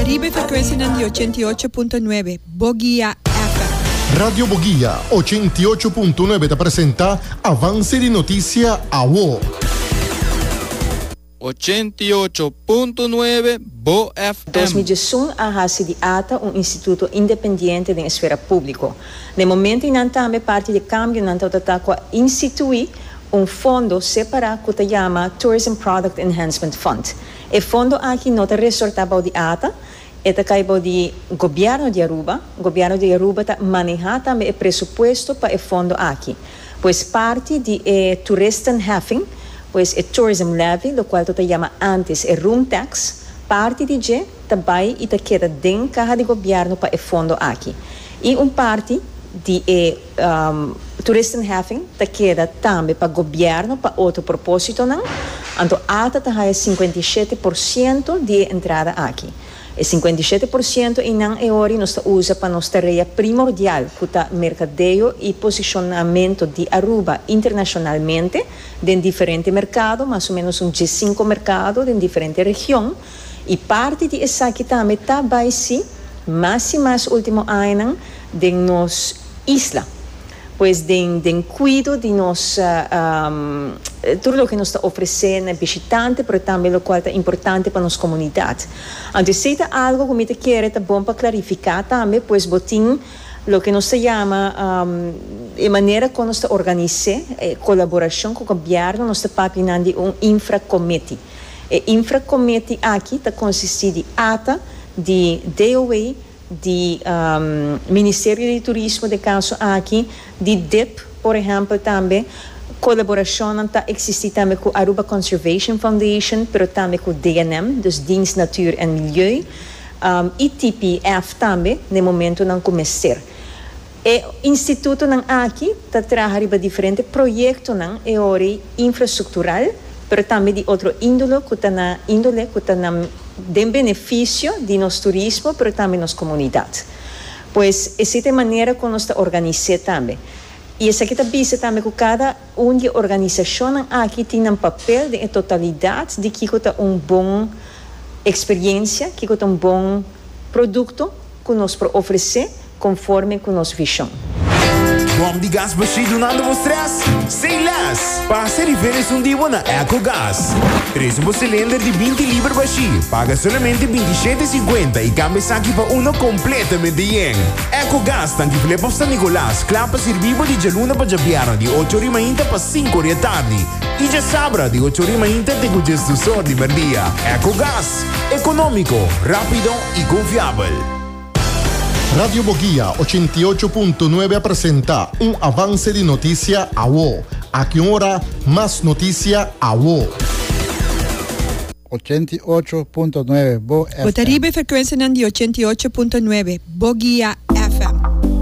riba e frekuensianan di 88.9 Boguia FM. Radio Boguia 88.9 ta presenta Avance di Noticia Awo. 88.9 Bo FM. 2011 a hasi di ata un instituto independiente den esfera públiko. Na e momento einan tambe parti di e kambionan tabata ta ku a instituí un fondo separá ku ta yama Tourism Product Enhancement Fund. E fondo aki no ta resortá bou di ata, e ta kai bou di Gobièrnu di Aruba. Gobièrnu di Aruba ta manehá tambe e presupuesto pa e fondo aki. Pues parti di e toeristenheffing, pues e tourism levy, lokual ta ta yama ántes e room tax, parti di dje ta bai i ta keda den kaha di gobièrnu pa e fondo aki. I un parti di e toeristenheffing ta keda tambe pa gobièrnu pa otro propósitonan, anto ata ta haya 57% di e entrada aki. E 57% einan e ori nos ta usa pa nos tarea primordial ku ta merkadeo i posishonamentu di Aruba internashonalmente den diferente merkado, mas o ménos un diesinko merkado den diferente region. I parti di esaki tambe ta bai si mas i mas ultimo añanan den nos isla. Pues den den kuido di nos tur loke nos ta ofresé na bishitante pero tambe lokual ta importante pa nos komunidat. Anto esei ta algu ku mi ta kere ta bon pa klarifiká tambe pues bo tin loke nos ta yama e manera kon nos ta organis'é e kolaborashon ku gobièrnu nos ta papia nan di un infra committee. E infra committee aki ta konsistí di ata, di DOW, di Ministerio di Turismo den kaso aki, di dip por ehèmpel tambe. Kolaborashonnan ta eksistí tambe ku Aruba Conservation Foundation, pero tambe ku DNM, dus Dienst Natuur en Milieu, i TPF tambe na e momentunan ku mester. E institutonan aki ta traha riba diferente proyektonan e ori infrastruktural, pero tambe di otro índole ku ta na índole ku ta na den benefisio di nos turismo pero tambe nos komunidat. Pues esei ta e manera ku nos ta organis'é tambe. I esaki ta bisa tambe ku kada un di e organisashonnan aki tin nan papel den e totalidat di kiko ta un bon eksperiensia, kiko ta un bon produkto ku nos por ofresé. Conforme cu nos vision. Bom di gas bashí dunando bo stress? Say less! Pasa riba esun di bo na Ecogas. Trese bo cilinder di 20 liber bashí, paga solamente 27,50 y cambia esaki pa uno completamente yen. Ecogas tanki Flip of San Nicolas, kla pa sirbi bo di djaluna pa djabièrnè di ocho ori mainta pa sinku ori atardi y djasabra di ocho ori mainta te cu djesdusor di merdia. Ecogas, economico, rapido y confiabel. Radio Boguia 88.9 a presenta un avance di noticia awo. Aki un ora, mas noticia awo. 88.9 Bo Bo ta FM. riba e frekuensianan di 88.9 Boguia.